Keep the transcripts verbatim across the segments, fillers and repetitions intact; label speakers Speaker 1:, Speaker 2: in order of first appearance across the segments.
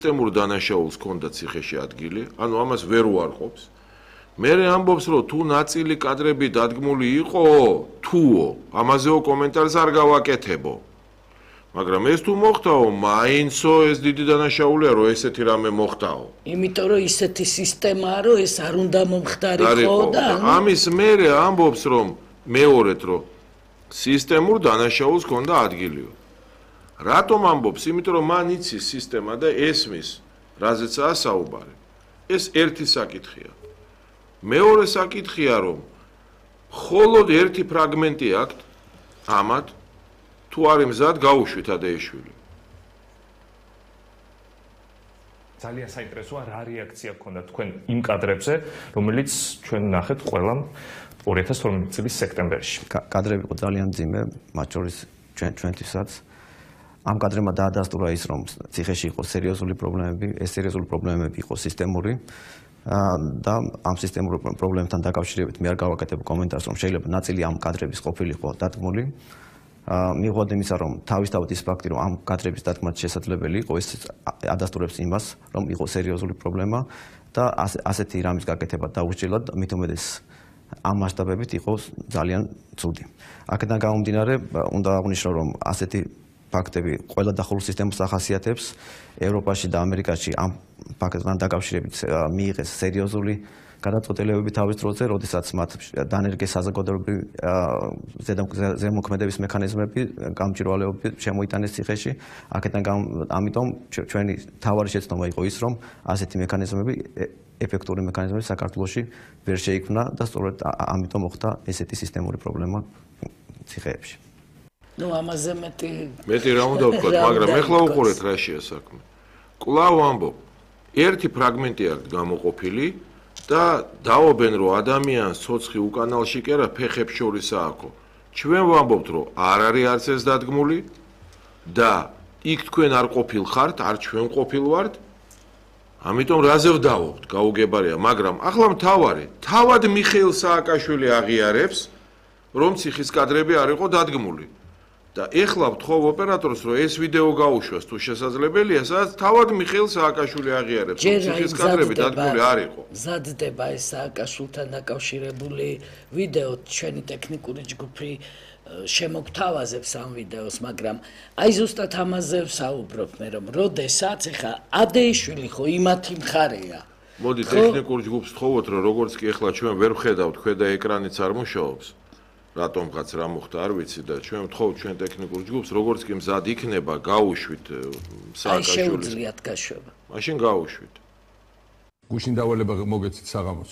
Speaker 1: სისტემურ დანაშაულს ჰქონდა ციხეში ადგილი, ანუ ამას ვერ უარყოფს. მერე ამბობს, რომ თუ ნაწილი კადრები დადგმული იყო, თუო, ამაზეო კომენტარს არ გავაკეთებო. მაგრამ ეს თუ მოხდაო, მაინცო ეს დიდი დანაშაულია, რომ ესეთი რამე მოხდაო.
Speaker 2: იმიტომ რომ ისეთი სისტემაა, რომ ეს არ უნდა მომხდარიყო და
Speaker 1: ამის მერე ამბობს, რომ მეორედ, რომ სისტემურ დანაშაულს ჰქონდა ადგილიო. რატომ ამბობს? იმიტომ რომ მან იცის სისტემა და ესმის, რაზეცაა საუბარი. ეს ერთი საკითხია. მეორე საკითხია, რომ მხოლოდ ერთი ფრაგმენტი აქვთ ამათ, თუ არის მზად გაუშვით ადეიშვილი.
Speaker 3: ძალიან საინტერესოა რა რეაქცია გქონდა თქვენ იმ კადრებზე, რომელიც ჩვენ ნახეთ ყველამ ორი ათას თორმეტი წლის სექტემბერში.
Speaker 4: კადრები იყო ძალიან მძიმე, მათ შორის ჩვენ ჩვენთვისაც. ამ კადრებმა დაადასტურა ის, რომ ციხეში იყო სერიოზული პრობლემები, ეს სერიოზული პრობლემები იყო სისტემური და ამ სისტემურ პრობლემებთან დაკავშირებით მე არ გავაკეთებ კომენტარს, რომ შეიძლება ნაწილი ამ კადრების ყოფილიყო დადგმული. მიუხედავად იმისა, რომ თავისთავად ის ფაქტი, რომ ამ კადრების დადგმა შესაძლებელი იყო, ეს ადასტურებს იმას, რომ იყო სერიოზული პრობლემა და ასეთი რამის გაკეთება დაუსჯელად, მით უმეტეს ამ მასშტაბებით იყო ძალიან ცუდი. აქედან გამომდინარე, უნდა აღვნიშნო, რომ ასეთი ფაქტები ყველა დახურულ სისტემას ახასიათებს. ევროპაში და ამერიკაში ამ ფაქტთან დაკავშირებით მიიღეს სერიოზული გადაწყვეტილებები თავის დროზე, როდესაც მათ დანერგეს საზოგადოებრივი ზემოქმედების მექანიზმები, გამჭვირვალეობები შემოიტანეს ციხეში. აქედან ამიტომ ჩვენი თავარი შეცდომა იყო ის, რომ ასეთი მექანიზმები, ეფექტური მექანიზმები საქართველოში ვერ შეიქმნა და სწორედ ამიტომ მოხდა ესეთი სისტემური პრობლემა ციხეებში.
Speaker 2: ნუ ამაზე მეტი
Speaker 1: მეტი რა უნდა ვთქვათ, მაგრამ ეხლა უყურეთ რა შეა საქმე. კვლავ ამბობ, ერთი ფრაგმენტი აქვს გამოყოფილი და დაობენ, რომ ადამიანს ცოცხი უკანალში კი არა, ფეხებს შორისაა აქო. ჩვენ ვამბობთ, რომ არ არის არც ეს დადგმული და იქ თქვენ არ ყოფილ ხართ, არ ჩვენ ყოფილ ვართ. ამიტომ რაზე ვდავობთ, გაუგებარია, მაგრამ ახლა მთავარი, თავად მიხეილ სააკაშვილი აღიარებს, რომ ციხის კადრები არ იყო დადგმული. და ეხლა ვთხოვ ოპერატორს, რომ ეს ვიდეო გაუშვას თუ შესაძლებელია, სადაც თავად მიხეილ სააკაშვილი აღიარებს, რომ ციხის კადრები დადგმული არ იყო.
Speaker 2: მზადდება ეს სააკაშვილთან დაკავშირებული ვიდეო, ჩვენი ტექნიკური ჯგუფი შემოგთავაზებს ამ ვიდეოს, მაგრამ აი ზუსტად ამაზე ვსაუბრობ მე, რომ როდესაც ეხა ადეიშვილი ხო იმათი მხარეა.
Speaker 1: მოდი ტექნიკურ ჯგუფს ვთხოვოთ, რომ როგორც კი ეხლა ჩვენ ვერ ვხედავთ, ქვედა ეკრანიც არ მუშაობს. რატომღაც რა მოხდა არ ვიცი და ჩვენ ვთხოვთ ჩვენ ტექნიკურ ჯგუფს, როგორც კი მზად იქნება, გაუშვით სააკაშვილის.
Speaker 2: აი შეუძლიათ გაშვება.
Speaker 1: მაშინ გაუშვით.
Speaker 5: გუშინ დავალება მოგეცით საღამოს.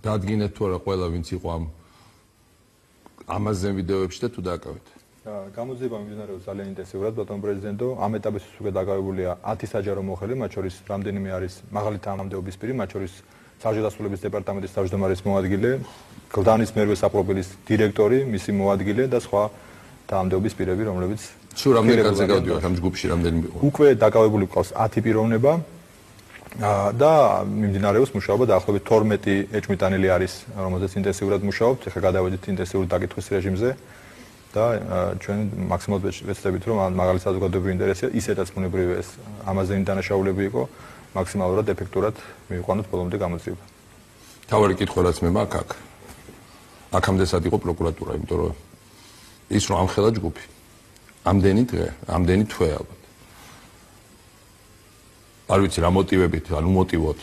Speaker 5: დადგინეთ თუ არა ყველა ვინც იყო ამ ამაზე ვიდეოებში და თუ დააკავეთ.
Speaker 6: გამოძიება მიმდინარეობს ძალიან ინტენსიურად, ბატონო პრეზიდენტო. ამ ეტაპისთვის უკვე დაკავებულია ათი საჯარო მოხელე, მათ შორის რამდენიმე არის მაღალი თანამდებობის პირი, მათ შორის საჯადასრულების დეპარტამენტის თავმჯდომარის მოადგილე, გლდანის მერვე საპროფილის დირექტორი, მისი მოადგილე და სხვა თანამდებობის პირები, რომლებიც
Speaker 5: სულ რამდენი კაცი გავდივართ ამ ჯგუფში, რამდენი იყო?
Speaker 6: უკვე დაკავებული გვყავს ათი პიროვნება და მიმდინარეობს მუშაობა დაახლოებით თორმეტი ეჭვმიტანილი არის, რომელზეც ინტენსიურად მუშაობთ. ეხლა გადავედით ინტენსიური დაკითხვის რეჟიმზე და ჩვენ მაქსიმალურად ვეცდებით, რომ მაღალი საზოგადოებრივი ინტერესია, ისედაც ბუნებრივია ეს ამაზე დანაშაულები იყო, მაქსიმალურად ეფექტურად მივიყვანოთ ბოლომდე გამოძიება.
Speaker 5: თავარი კითხვა რაც მე მაქვს აქ. აქამდესაც იყო პროკურატურა, იმიტომ რომ ის რომ ამხელა ჯგუფი. ამდენი დღე, ამდენი თვე ალბათ. არ ვიცი რა მოტივებით, ანუ მოტივოთ.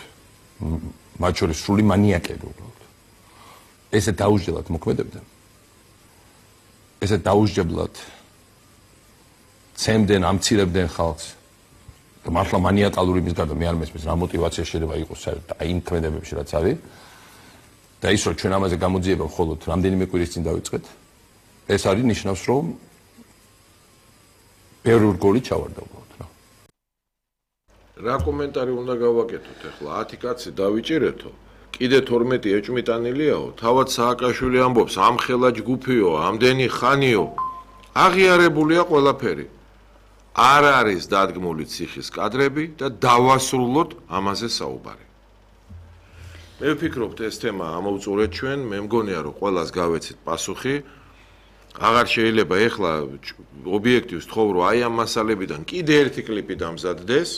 Speaker 5: მათ შორის სრული მანიაკები უბრალოდ. ესე დაუსჯელად მოქმედებდნენ. ესე დაუსჯებლად ცემდნენ, ამცირებდნენ ხალხს. და მართლა მანიაკალური იმის გარდა მე არ მესმის რა მოტივაცია შეიძლება იყოს საერთოდ აი იმ ქმედებებში რაც არის. და ის რომ ჩვენ ამაზე გამოძიება მხოლოდ რამდენიმე კვირის წინ დავიწყეთ, ეს არის ნიშნავს, რომ ბევრი რგოლი ჩავარდა უბრალოდ რა.
Speaker 1: რა კომენტარი უნდა გავაკეთოთ ახლა? ათი კაცი დავიჭირეთო, კიდე თორმეტი ეჭვმიტანილიაო, თავად სააკაშვილი ამბობს, ამხელა ჯგუფიო, ამდენი ხანიო, აღიარებულია ყველაფერი. არ არის დადგმული ციხის კადრები და დავასრულოთ ამაზე საუბარი. მე ვფიქრობთ ეს თემა ამოვწურეთ ჩვენ, მე მგონია რომ ყველას გავეცით პასუხი. აღარ შეიძლება ეხლა ობიექტივს თხოვ რომ აი ამ მასალებიდან კიდე ერთი კლიპი დამზადდეს.